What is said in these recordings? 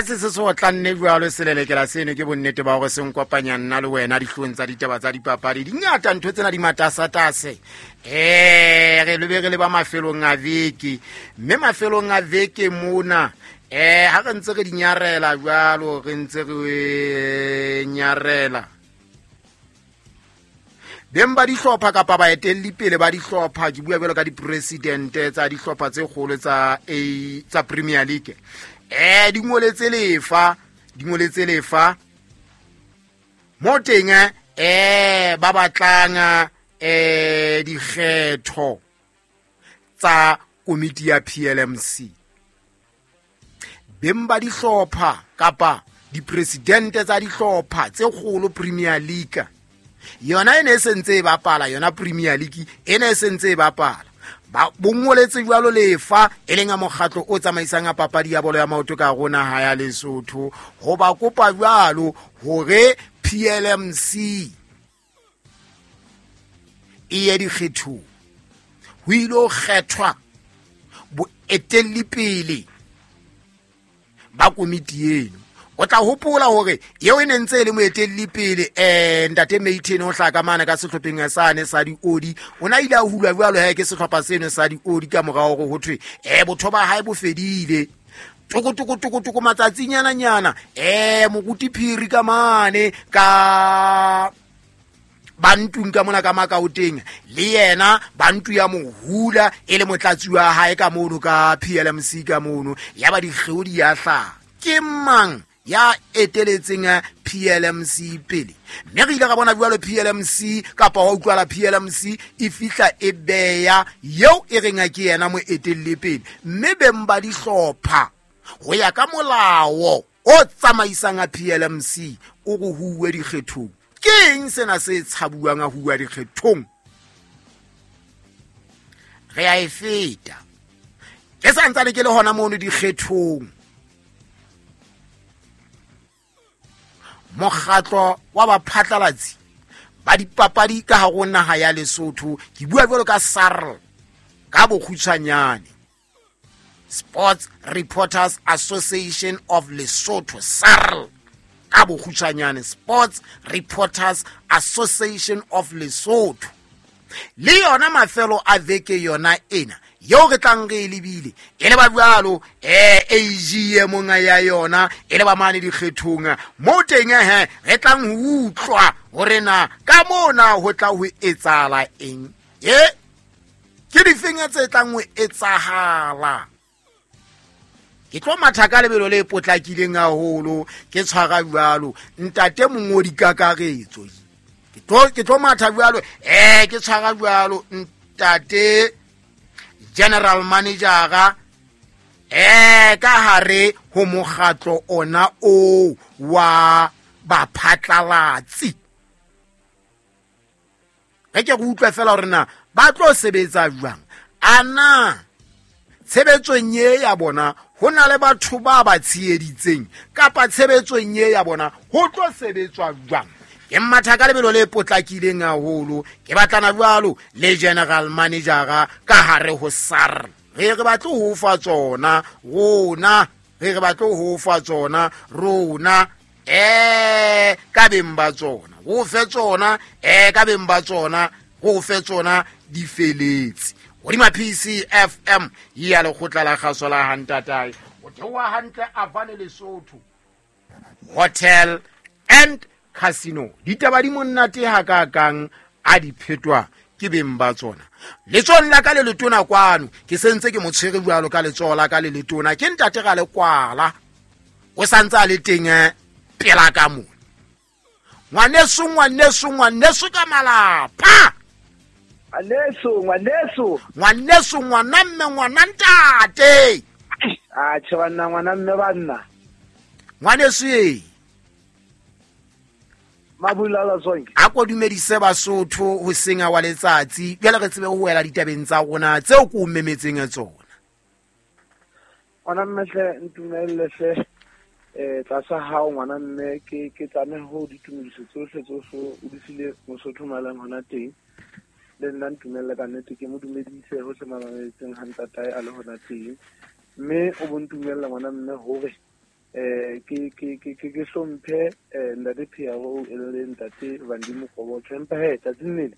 Ha se se se otlanne jwalo selelekela seno, ke bonnete ba hore se nkopanya nna le wena dihlong tsa ditaba tsa dipapadi. Di ngata ntho tsena di matasatase. Re lebe re le ba mafelong a veke, mme mafelong a veke mona ha re ntse re di nyarela jwalo, re ntse re nyarela beng ba dihlopha kapa baetelli pele ba dihlopha, ke bua jwalo ka dipresidente tsa dihlopha tse kgolo tsa A tsa Premier League. Di ngoletse lefa, di ngoletse lefa mo teng, ba batlang dikgetho tsa komiti ya PLMC. Beng ba dihlopha kapa dipresidente tsa dihlopha tse kgolo Premier League, yona e ne e sentse e bapala, yona Premier League e ne e sentse e bapala. Ba bongoletse jwalo lefa e leng a mokgatlo o tsamaisang a papadi ya bolo ya maoto ka rona ha ya Lesotho, ho ba kopa jwalo hore PLMC e ye dikgethong, ho ile ho kgethwa boetelli pele ba komiti eno. O tla hopola hore eo e ne ntse e le moetelli pele, ntate Mayton o hlaka mane ka sehlopheng sane sa diodi, o na ile a hulwa jwalo he ke sehlopha seno sa diodi ka morao hore ho thwe botho ba hae bo fedile. Toko toko toko toko matsatsinyana nyana, moruti Phiri ka mane ka bantung ka mona ka Makaoteng, le yena bantu ya mohula e le motlatsi wa hae ka mono ka PLMC ka mono, ya ba dikgeo di ya hlaha. Ke mang ya eteletseng PLMC pele? Mme re ile ra bona jwalo PLMC kapa wa utlwala PLMC e fihla e beya eo e reng ke yena moetelli pele, mme beng ba dihlopha ho ya ka molao o tsamaisang a PLMC o re huwe dikgethong. Ke eng sena se tshabuwang a huwa dikgethong? Re a e feta. Ke sa ntsane ke le hona mono dikgethong. Mokgatlo wa baphatlalatsi ba dipapadi ka hare ho naha ya Lesotho, ke bua jwalo ka SARL ka bokgutshwanyane, Sports Reporters Association of Lesotho, SARL ka bokgutshwanyane, Sports Reporters Association of Lesotho. Le yona mafelo a veke yona ena yeo re tlang re e lebile e le ba jwalo AGM ya yona e le ba mane dikgethong mo teng, he re tlang ho utlwa hore na ka mona ho tla ho etsahala eng, ke difeng tse tlang ho etsahala. Ke tlo matha ka lebelo le potlakileng haholo, ke tshwara jwalo ntate mongodi kakaretso. Ke tlo matha jwalo, ke tshwara jwalo ntate general manager ka hare ho mokgatlo ona o wa baphatlalatsi. Re ke re utlwe fela hore na ba tlo sebetsa jwang. Ana tshebetsong e ya bona ho na le batho ba ba tsheheditseng, kapa tshebetsong e ya bona ho tlo sebetswa jwang? Ke mmatha ka lebelo le potlakileng haholo, ke batlana jwalo le general manager ka hare ho SARL. Re re batle ho fa tsona rona, re re batle ho fa tsona rona, ka beng ba tsona, ho fe tsona, ka beng ba tsona, ho fe tsona di feletse. Hodima PCFM ya lekgotla la kgaso la Hantatae, o theoha hantle Avane Lesotho Hotel and Casino. Ditaba di monate hakakang a di phetwa ke beng ba tsona. Letsohong la ka le letona kwano, ke sentse ke mo tshwere jwalo ka letsoho la ka le letona, ke ntate ga le kwala, o santse a le teng pela ka mona. Ngwaneso, ngwaneso, ngwaneso ka malapa. Ngwaneso, ngwaneso. Ngwaneso, ngwana mme, ngwana ntate. A tjhe banna, ngwana mme banna. Ngwaneso e. Mabulala Zonke. A ko dumedise Basotho ho senga wa letsatsi. Jwale re tsebe ho wela ditabeng tsa rona tseo ko memetseng tsona. Ngwana mme hle, ntumelle hle. Tlasa hao ngwana mme, ke tlameha ho ditumediso tsohle tsohle o di file Mosotho malang hona teng. Le nna ntumelle ka nnete ke mo dumedise hohle mamametseng ha ntatae a le hona teng. Mme o bo ntumella ngwana mme hore Ke hlomphe ntate Piero e le ntate Vandi Mokobotsho, empa he tsatsing lele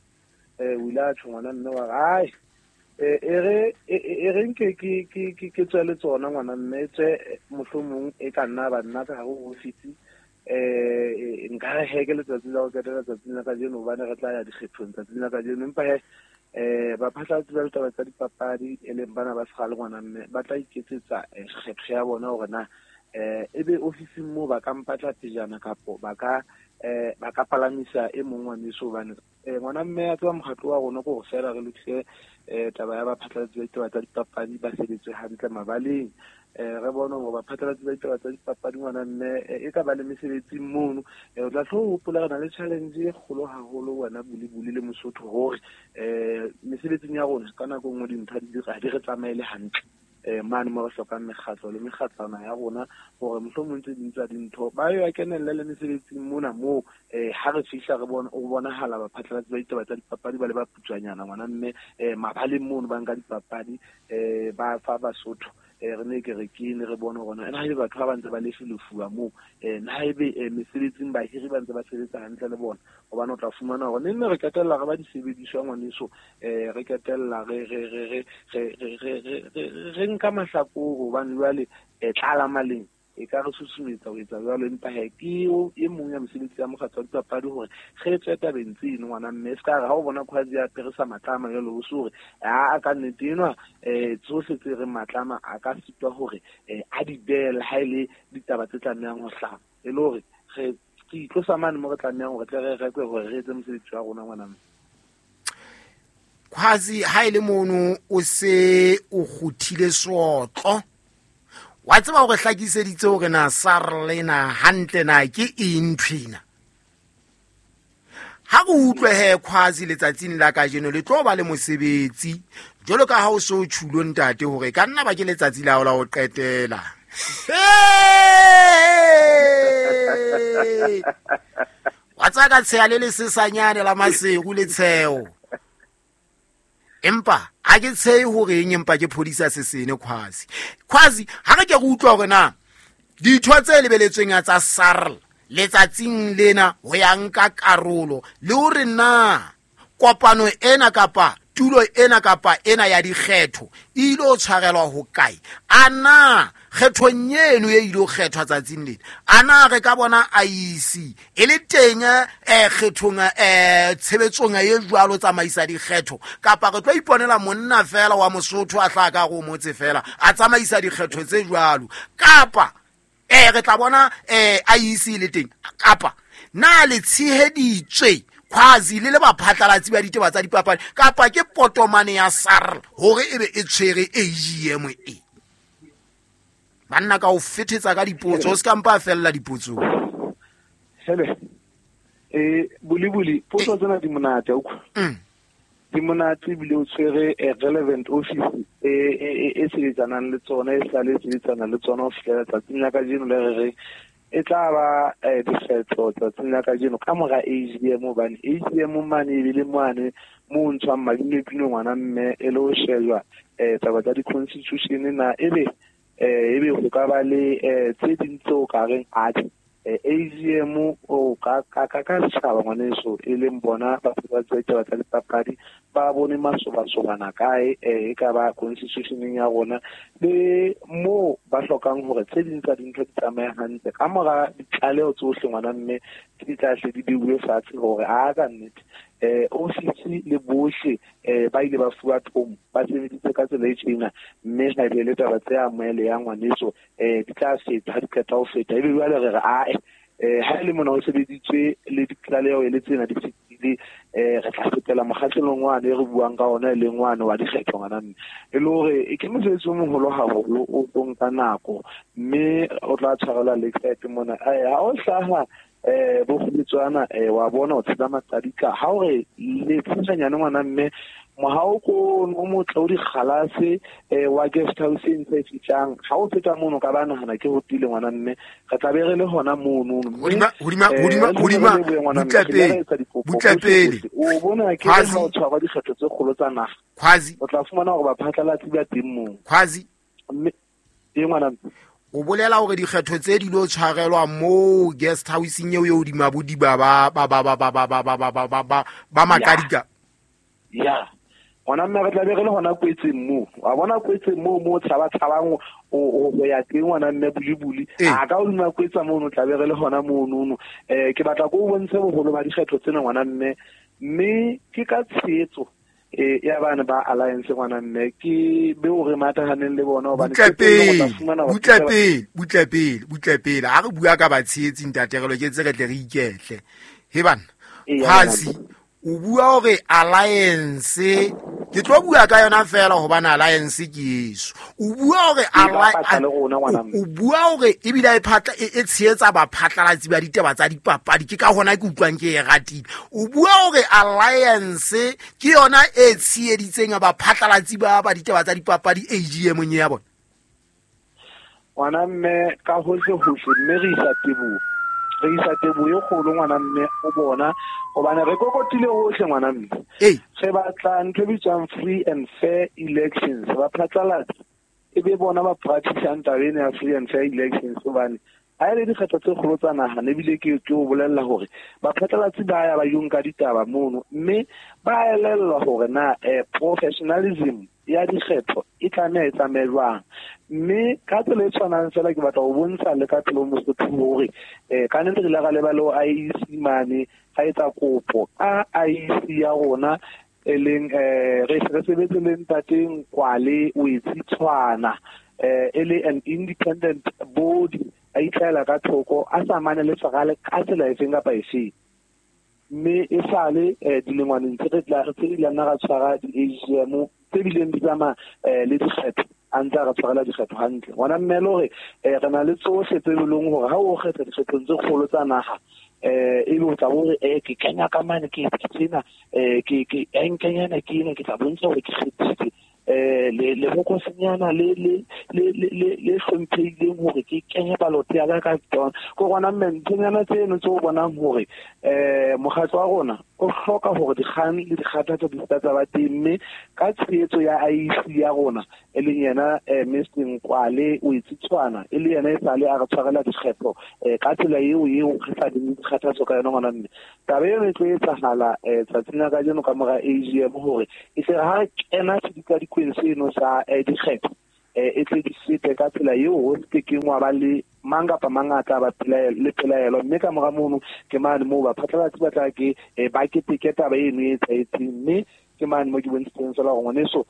o ile a tjho ngwana mme wa re ai e re nke ke tswe le tsona ngwana mme tswe mohlomong e ka nna ba nna ka hare ho ofisi. Nka re he ke letsatsi la ho qetela tsatsing la kajeno, hobane re tla ya dikgethong tsatsing la kajeno. Empa he baphatlalatsi ba ditaba tsa dipapadi e leng bana ba sekgale ngwana mme ba tla iketsetsa kgetho ya bona hore na ebe ofising moo ba ka mpatla pejana kapo ba ka palamisa e mong ngwaneso. Hobane ngwana mme a tseba mokgatlo wa rona ke hore feela re lokise taba ya baphatlalatsi ba ditaba tsa dipapadi ba sebetse hantle mabaleng. Re bone hore baphatlalatsi ba ditaba tsa dipapadi ngwana mme e ka ba le mesebetsing mono. O tla hlo hopola re na le challenge e kgolo haholo wena Bulibuli le Mosotho hore mesebetsing ya rona ka nako e nngwe dintho ha di re tsamaele hantle. Mane mo re hlokang mekgatlo le mekgatlwana ya rona hore mohlomong tse ding tsa dintho ba yo kenelle le mesebetsing mona moo. Ha re fihla re bona o bonahala baphatlalatsi ba ditaba tsa dipapadi ba le ba putswanyana ngwana mme mabaleng mono ba nka dipapadi ba fa Basotho. Re ne ke re ke ne re bone hore na haebe batho ba ntse ba lefilefuwa moo, na haebe mesebetsing bahiri ba ntse ba sebetsa hantle le bona, hobane o tla fumana hore ne re qetella re ba disebediswa ngwaneso, re qetella re nka mahlakore hobane jwale tlala maleng e ka re susumetsa ho etsa jwalo. Empa he ke e mong ya mesebetsi ya mokgatlo wa dipapadi hore re tswe tabeng tseno ngwana mme, se ka re ha o bona Khwazi ya apere sa matlama jwalo o se hore a ka nnete enwa tsohle tse reng matlama a ka sitwa hore a di beele ha e le ditaba tse tlamehang ho hlaha, e le hore re itlosa mane mo re tlamehang hore tle re rekwe hore re etse mosebetsi wa rona ngwana mme. Khwazi ha e le mono o se o kguthile sootlo, wa tseba hore hlakiseditse hore na SARL na hantle na ke eng nthwena. Ha re utlwe he Khwazi letsatsing la kajeno le tlo ba le mosebetsi jwalo ka ha o so tjhulo ntate hore ka nna ba ke letsatsi la hao la ho qetela. Wa tseba ka tsheha le lesesanyane la Maseru le tsheho. Empa ha ke tshehe hore eng, empa ke phodisa sesene Khwazi. Khwazi ha re ke re utlwa hore na ditho tse lebeletsweng tsa SARL letsatsing lena ho ya nka karolo le hore na kopano ena kapa tulo ena kapa ena ya dikgetho e ile ho tshwarelwa ho kae, a na kgethong eno e ile ho kgethwa tsatsing lena, a na re ka bona IEC e le teng kgethong tshebetsong e jwalo tsamaisa dikgetho, kapa re tlo iponela monna fela wa Mosotho a tla ka go motse fela a tsamaisa dikgetho tse jwalo, kapa re tla bona IEC le teng, kapa na le tsheheditswe Khwazi le le baphatlalatsi ba ditaba tsa dipapadi, kapa ke potomane ya SARL hore ebe e tshwere AGM e. Banna ka o fethetsa ka dipotso, o se ka mpa fella dipotsong. Hele. Bulibuli, potso tsena di monate utlwa. Di monate ebile o tshwere relevant office e sebetsanang le tsona, e sale e sebetsana le tsona ho fihlela tsatsing la kajeno le re re e tla ba dikgetho tsatsing la kajeno ka mora AGM, hobane AGM mane e bile mane mo ntshwang madinepino ngwana mme e le ho shejwa taba tsa di-constitution na ebe ho ka ba le tse ding tseo ka reng atjhe AGM o ka setjhaba ngwaneso e leng bona baphatlalatsi ba ditaba tsa dipapadi ba bone masobasobana kae e ka ba constitutioneng ya rona le moo ba hlokang hore tse ding tsa dintho di tsamaye hantle ka mora ditlaleho tsohle ngwana mme di tla hle di beuwe fatshe hore a ka nnete ofisi le bohle ba ile ba fuwa thomo ba sebeditse ka tsela e tjena mme ha ebe le taba tse amohele ya ngwaneso di tla feta ha di qeta ho feta ebe jwale re re ae ha e le mona ho sebeditswe le ditlaleho e le tsena di fetile re tla fetela mokgahlelong wane e re buang ka ona e leng wane wa dikgetho ngwana mme e le hore ke mosebetsi o moholo haholo o tlo nka nako mme o tla tshwarelwa Lakeside mona. Ha o hlaha bokgobetswana wa bona o tshela maqadika ha o re le tshwanyane ngwana mme mohao ko o motle o dikgalase wa guest house e ntse e fihlang ha o feta mono ka ba nahana ke hotile ngwana mme re tla be re le hona mono hodima butla pele o bona ke ha o tshwarwa dikgetho tse kgolo tsa naha Khwazi o tla fumana hore baphatlalatsi ba teng moo Khwazi mme e ngwana O bolela hore dikgetho tse di lo tshwarelwa mo guest houseng eo eo dimabodiba ba ba ba ba ba ba ba ba ba ba ba ba makadika. Ya. Ngwana mme re tla be re le hona kwetseng moo. Wa bona kwetseng moo mo tshaba tshabang o ya teng ngwana mme bulibuli. A ka o duma kwetsa mono tla be re le hona mono. Ke batla go bontshe boholo ba dikgetho tsena ngwana mme mme ke ka tshehetso ya bana ba alliance ngwana mme ke be o re matahaneng le bona hobane butle pele ha re bua ka batshehetsi ntate re loketse re tle re iketle he bana Khwazi o bua hore alliance ke tlo bua ka yona fela hobane alliance ke eso o bua hore o bua hore ebile e phatla e tshehetsa baphatlalatsi ba ditaba tsa dipapadi ke ka hona ke utlwang ke e ratile o bua hore alliance ke yona e tsheheditseng baphatlalatsi ba ditaba tsa dipapadi AGM ya bona ngwana mme ka hohle hohle mme re isa teboho e kgolo ngwana mme o bona hobane re kokotile hohle ngwana mme re batla ntho e bitswang free and fair elections baphatlalatsi e be bona ba practice-ang taba ena ya free and fair elections hobane ha e le dikgetho tse kgolo tsa naha ebile ke o bolella hore baphatlalatsi ba ya ba yo nka ditaba mono mme ba elellwa hore na professionalism ya dikgetho e tlameha e tsamaye jwang mme ka tsela e tshwanang fela ke batla ho bontsha le ka pelo Mosotho hore ka nnete re ile ra leba le IEC mane ga etsa kopo ka IEC ya rona e leng re sebetse le ntateng Kwale o etse tshwana e le an independent body a itlhaela ka thoko a sa mane le serale ka tsela efeng kapa efeng mme e sale dilengwaneng tse re tla re tse di nna ra tshwara di-AGM tse bileng di tsamaya le dikgetho a ntse a re tshwarela dikgetho hantle ngwana mme le hore re na le tsohle tse leng hore ha o kgetha dikgethong tse kgolo tsa naha ebe o tla bo re ke kenya ka mane ke tsena ke enkenyana ke ena ke tla bontsha hore ke kgethile le bokosinyana le le le le le hlomphehileng hore ke kenye balote ya ka tsona ko gona mme nthonyana tseno tse o bonang hore mokgatlo wa rona o hloka hore dikgang le dikgathatso di tsa ba teng mme ka tshehetso ya IEC ya rona e leng yena Mr Nkwale o itse tshwana e le yena e sale a re tshwarela dikgetho ka tsela eo re sa di dikgathatso ka yona ngwana mme taba eno e tlo etsahala tsatsing la kajeno ka mora AGM hore e tle ha re kena sedikadikweng seno sa dikgetho e tle di fete ka tsela eo ho se keng wa ba le mang kapa mang a tla ba le pelaelo mme ka mora mono ke mane moo baphatlalatsi ba tla ke ba keteke taba eno e etsahetseng mme ke mane mo ke bontshitseng fela hore ngwaneso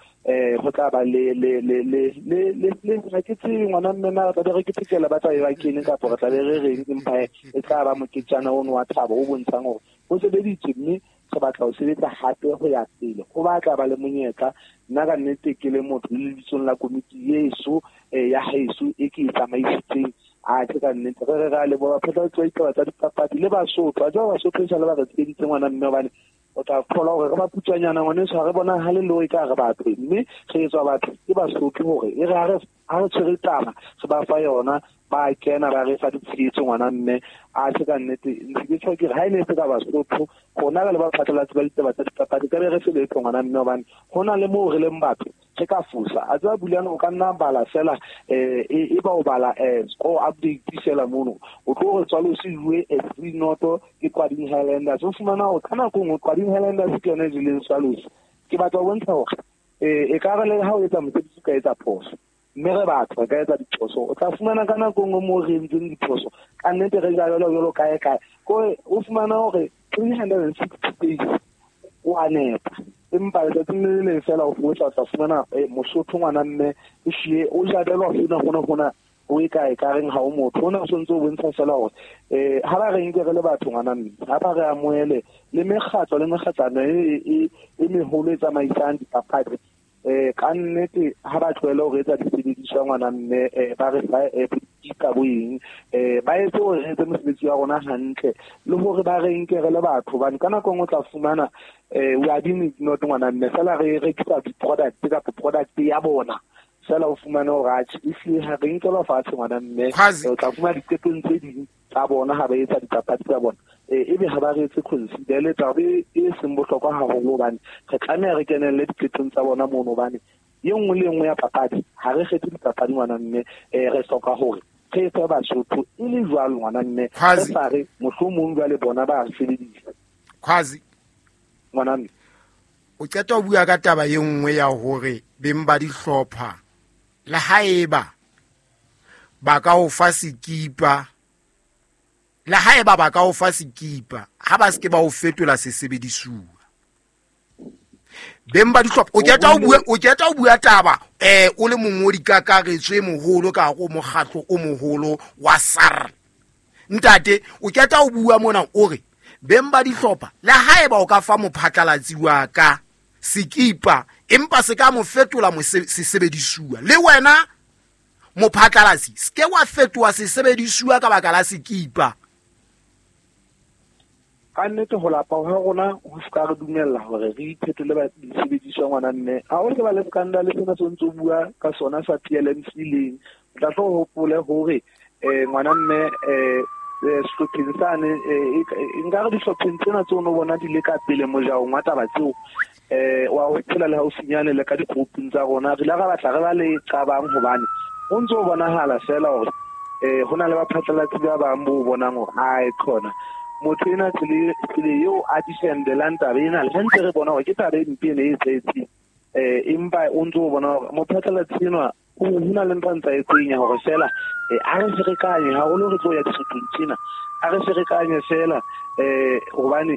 go tla ba le le le le le le le ga ke tsebe ngwana mme na re tla be re ketekela ba tla be ba kene kapa re tla be re reng empa e tla ba moketjana ono wa thabo o bontshang hore ho sebeditswe mme re batla ho sebetsa hape ho ya pele ho batla ba le monyetla nna ka nnete ke le motho le lebitsong la komiti yeso ya haeso e ke e tsamaisitseng a ke ka nnete re re a leboha baphatlalatsi ba ditaba tsa dipapadi le Basotho a tseba Basotho e sale ba re tsheditse ngwana mme hobane o tla thola hore re ba putswanyana ngwaneso ha re bona ha le lo e ka re batho mme re etswa batho ke Basotho hore e re ha re tshwere taba re ba fa yona ba kena ba re fa ditshehetso ngwana mme a se ka nnete ntse ke tjho ke re ha e ne se ka Basotho rona re le baphatlalatsi ba ditaba tsa dipapadi ka be re se letho ngwana mme hobane ho na le moo re leng batho re ka fosa a tseba Bulane o ka nna bala fela e ba o bala score update fela mono o tlo re tswalo se jwe 3-0 ke Kwading Highlanders o fumana hore ka nako nngwe Kwading Highlanders ke yona e jeleng Swallows ke batla ho bontsha hore e ka re le ha o etsa mosebetsi o ka etsa phoso mme re batho re ka etsa diphoso o tla fumana ka nako nngwe moo re entseng diphoso ka nnete re ja jwalo jwalo kae kae kore o fumana hore 360 days o a nepa empa letsatsing le leng fela o tla fumana Mosotho ngwana mme o hlile o jabelwa hona o e kae ka reng ha o motho ona o sontse o bontsha fela hore ha ba re nke re le batho ngwana mme ha ba re amohele le mekgatlo le mekgatlano e meholo e tsamaisang dipapadi ka nnete ha ba tlohele hore etsa disebediswa ngwana mme ba re fa ka boeng ba etse hore re etse mosebetsi wa rona hantle le hore ba re nke re le batho hobane ka nako nngwe o tla fumana we are being ignored ngwana mme fela re rekisa di-product kapa product ya bona fela o fumane hore atjhe ehlile ha re nkelwa fatshe ngwana mme o tla fumana diqetong tse ding tsa bona ha ba etsa dipapadi tsa bona ebe ha ba re etse consider le taba e seng bohlokwa haholo hobane re tlameha re kenelle diqetong tsa bona mono hobane e nngwe le e nngwe ya papadi ha re kgethe dipapadi ngwana mme re hloka hore Re fe Basotho e le jwalo, ngwana mme, re sa re mohlomong jwale bona ba sebedisa. Khwazi, ngwana mme, o qeta ho bua ka taba e nngwe ya hore beng ba dihlopha le haeba ba ka o fa sekipa, le haeba ba ka o fa sekipa, ha ba se ke ba o fetola sesebedisuwa. Beng ba dihlopha, o qeta o bua taba o le mongodi kakaretso e moholo ka go mokgatlo o moholo wa SARL. Ntate, o qeta o bua mona o re beng ba dihlopha le haeba o ka fa mophatlalatsi wa ka sekipa, empa se ka mo fetola sesebedisuwa, le wena mophatlalatsi se ke wa fetoha sesebedisuwa ka baka la sekipa. Ka nnete ho lapa ha rona ho se ka re dumella hore re iphetole ba disebediswa, ngwana mme. Ha o ke ba le scandal sena se ntse o bua ka sona sa PLMC leng, o tla tlo hopole hore ngwana mme, sehlopheng sane, nka re dihlopheng tsena tseo no bona di le ka pele mojaong wa taba tseo, wa ho phela le haufinyane le ka di-grouping tsa rona, re ile ra batla re ba le qabang, hobane ho ntse ho bonahala fela hore ho na le baphatlalatsi ba bang bo bonang hore ae khona motho ena tsele eo a defendelang taba ena, le ha ntse re bona hore ke taba e mpe ene e etsahetseng, empa o ntse o bona hore mophatlalatsi enwa ho na le ntho a ntsa e tsenya hore fela a re ferekanye haholo, re tlo ya dihlopheng tsena, a re ferekanye fela, hobane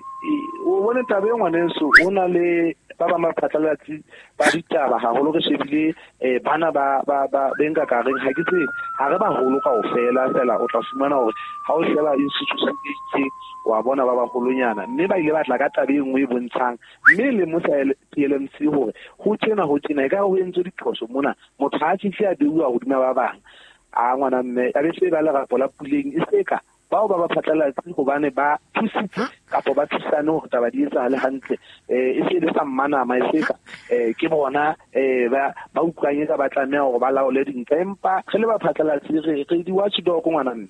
o bone taba e ngwaneso, ho na le ba bang baphatlalatsi ba ditaba haholo, re shebile bana ba benka ka reng, ha ke tsebe, ha re baholo kaofela fela, o tla fumana hore ha o sheba institution e itseng wa bona ba baholonyana, mme ba ile ba tla ka taba e nngwe e bontshang, mme le mosa PLMC hore ho tjena e ka ho entswe diphoso mona, motho ha a fihle a beuwa hodima ba bang. A ngwana mme, a be se ba lerapo la puleng e seka bao ba baphatlalatsi hobane ba thusitse kapa ba thusane hore taba di etsahale hantle, e se le sa mmanama e seka ke bona ba utlwang e ka ba tlameha hore ba laole dintho, empa re le baphatlalatsi re di-watchdog, ngwana mme.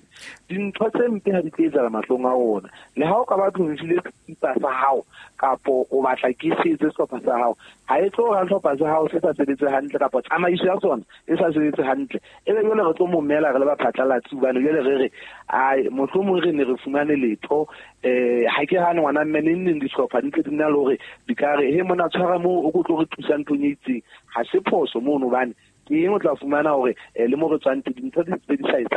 Dintho tse mpe ha di tlo etsahala mahlong a rona, le ha o ka ba tlongfile sekipa sa hao kapo o batla ke se etse sehlopha sa hao, ha e tlo ra sehlopha sa hao se sa sebetse hantle kapa tsamaiso ya sona e sa sebetse hantle, ebe jwale re tlo momela re le baphatlalatsi, hobane jwale re re ai mohlomong re ne re fumane letho. Ha ke hane ngwana mme, neng dihlopha di ntse di na le hore di ka re he mona tshwara moo o ko tlo re thusa nthong e itseng, ha se phoso mono, hobane ke eng o tla fumana hore le mo re tswang teng dintho di ntse di sa etsa.